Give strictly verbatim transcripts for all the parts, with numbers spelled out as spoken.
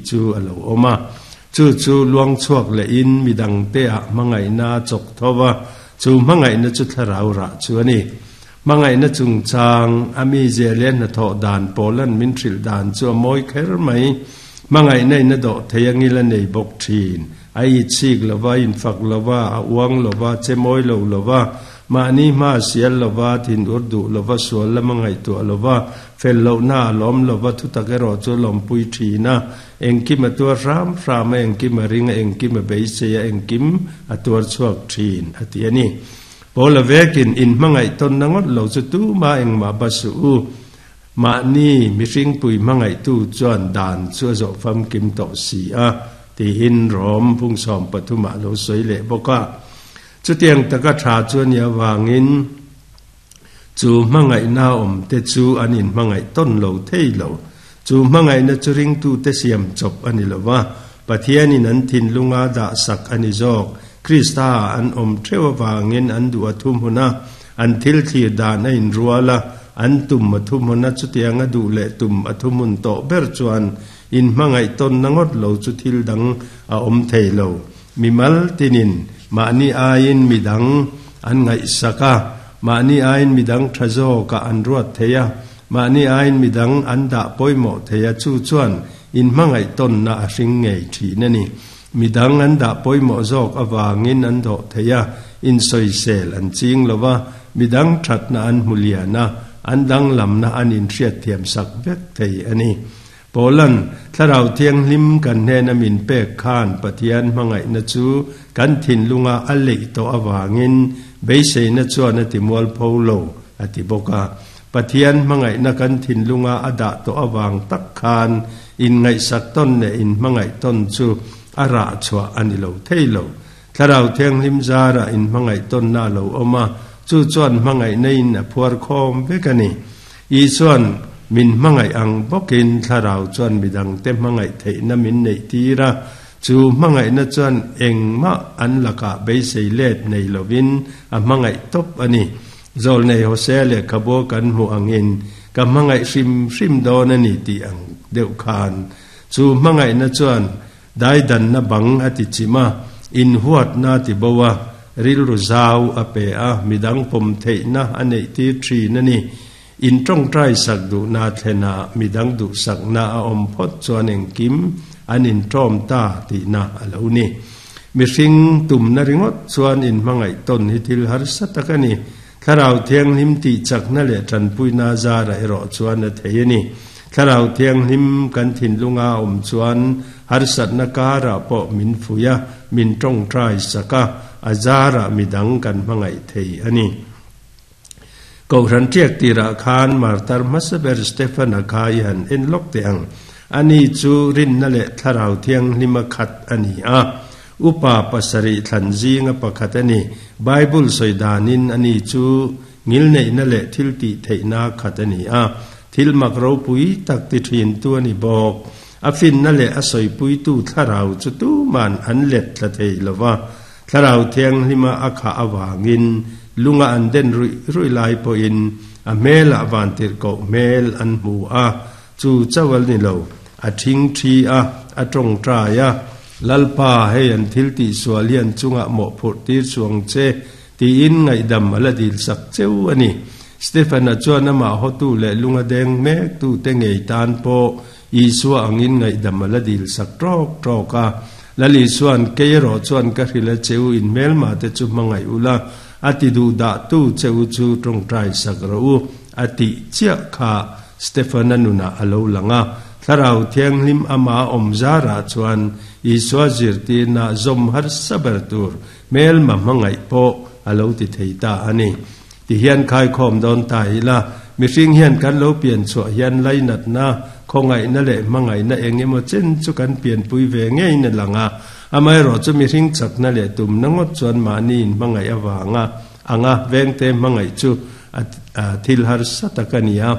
chu a lo awm a. Chu chu luang chhuak lehin midang te ah hmangaihna a chawk tho va, chu hmangaihna chu thlarau rah chu a ni. Hmangaihna chungchang a mi zia leh hnathawh dan pawlan min hrilh dan chu a mawi kher mai. Hmangaihna in a dawh thei a ngil a nei bawk thin. A itchik lo va, a infak lo va, a uang lo va, che mawi lo lo va, mahni hma a sial lo va, thin ur duh lo va, sual lama ngaihtuah lo va, fel lohna a lawm lo va, thutak erawh chu a lawmpui thin a, engkim a tuar hram hram a, engkim a ring a, engkim a beisei a, engkim a tuar chhuak thin, a ti a ni. Paula vekin inhmangaih tawnna ngawt lo chu tuma engmah ba suh u. Mahni mihringpui hmangaihtu chuan dan chu a zawh famkim tawh si a, tiin Rom phungsawm pathumah a lo sawi leh bawk a. Chutiang taka tha chu a nih avangin chu hmangaihna awmte chu an inhmangaih tawn lo thei lo. Chu hmangaihna chu ringtute siam chawp a ni lo va, Pathianin an thinlunga dahsak a ni zawk. Krista an awm theuh avangin an duh a thuhmun a, an thil thlir dan a inrual a, an tum a thuhmun a, chutiang a duh leh tum a thuhmun tawh ber chuan inhmangaih tawnna ngawt lo chu thil dang a awm thei lo. Mimal tinin mahni aiin midang an ngaihsak a, mahni aiin midang tha zawkah an ruat thei a, mahni aiin midang an dah pawimawh thei a, chu chuan inhmangaih tawnna a hring ngei thin a ni. Midang an dah pawimawh zawk avangin an dawh thei a, insawisel an ching lo va, midang thatna an hmu lian a, an danglamna an inhriatthiam sak vek thei a ni. Paula'n Thlarau Thianghlim kan hnena min pek khan Pathian hmangaihna chu kan thinlunga a leih tawh avangin beiseina chuan a ti mualpho lo, a ti bawk a. Pathian hmangaihna kan thinlunga a dah tawh avang tak khan inngaihsak tawn leh inhmangaih tawn chu a rah chhuah a ni lo thei lo. Thlarau Thianghlim zarah inhmangaih tawnna a lo awm a, chu chuan hmangaihna in a phuar khawm vek a ni. Isuan min hmangaih ang bawkin Thlarau chuan midangte hmangaih theihna min neih tir a, chu hmangaihna chuan engmah an lakah beisei let nei lovin a hmangaih tawp a ni. Zawlnei Hosea lehkhabu kan hmuh angin ka hmangaih hrim hrim dawn a ni tih ang deuh khan chu hmangaihna chuan daidanna bang a ti chim a, inhuatna a ti bo a, rilru zau a pe a, midang pawm theihna a neih tir thin a ni. In tawngtai sak duhna thlen a, midang duhsakna a awm phawt chuan engkim an intawm ta tihna a lo ni. Mihring tumna ringawt chuan inhmangaih tawn hi thil harsa tak a ni. Thlarau Thianghlim tih chakna leh tanpuina zara erawh chuan a thei a ni. Thlarau Thianghlim kan thinlunga a awm chuan harsatna karah pawh min fuih a, min tawngtai sak a, a zarah midang kan hmangaih thei a ni. Kohhran tiak tirah khan martar hmasa ber Stefan-a kha i han en lawk teh ang. Ani chu rinna leh Thlarau Thianghlima khat a ni a. Upa pasarih thlan zinga pakhat a ni. Bible sawi danin ani chu ngilneihna leh thil tih theihna khat a ni a. Thil mak ropui tak ti thintu a ni bawk. A finna leh a sawipuitu Thlarau chu tuman an let tla thei lo va. Thlarau Thianghlima a khah avangin lunga an den ruih ruih lai pawhin a hmelah vantirhkoh hmel an hmu a, chu chauh a ni lo, a thing thi a, a tawngtai a, Lalpa, hei an thil tih sual hi an chungah mawhphurh tir chuang che, tiin ngaihdam a la dil sak cheu a ni. Stephen-a chuan amah hawtu leh lunga deng mektute ngei tan pawh Isua angin ngaihdam a la dil sak tawk tawk a. Lal Isua'n, Kei erawh chuan ka hrilh a che u, inhmelma te chu hmangaih ula, a ti duh dah tu che u chu tawngtai sak rawh u, a tih chiah kha Stefan-a nunah a lo lang a. Thlarau Thianghlim ama awm zarah chuan Isua zirtirna zawm harsa ber tur hmelma hmangaih pawh a lo ti thei ta a ni. Ti hian khaikhawm dawn ta ila, mihring hian kan lo pian chhuah hian lainatna, khawngaihna leh hmangaihna eng emaw chen chu kan pianpui ve ngeiin a lang a. Amaherawh chu mihring chakna leh tumna ngawt chuan mahni inhmangaih avanga anga vengte hmangaih chu a thil harsa tak a ni a.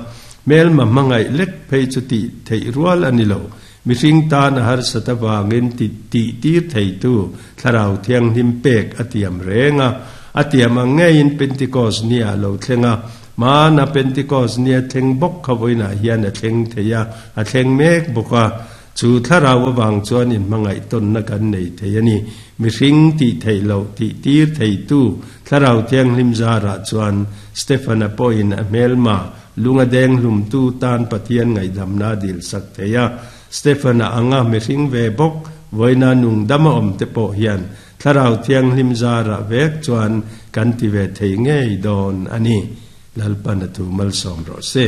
Hmelma hmangaih lek phei chu tih theih rual a ni lo. Mihring tan a harsat avangin ti tih tir theitu Thlarau Thianghlim pek a tiam reng a. A tiam ang ngeiin Pentecost ni ah lo thleng a, hmana Pentecost ni a thleng bawk kha vawiinah hian a thleng thei a, a thleng mek bawk a. Chu thlarau awang chuan in hmangaih tawnna kan nei thei a ni. Mihring tih theih loh tih tir thei tu Thlarau Thianghlim zarah chuan Stephana pawhin a hmelma lunga deng hlum tu tan Pathian ngaihdamna a dil sak thei a. Stephana anga mihring ve bawk vawiina nung dama awm te pawh hian Thlarau Thianghlim zarah vek chuan kan ti ve thei ngei dawn a ni. Lalpan a thu malsawm rawh se.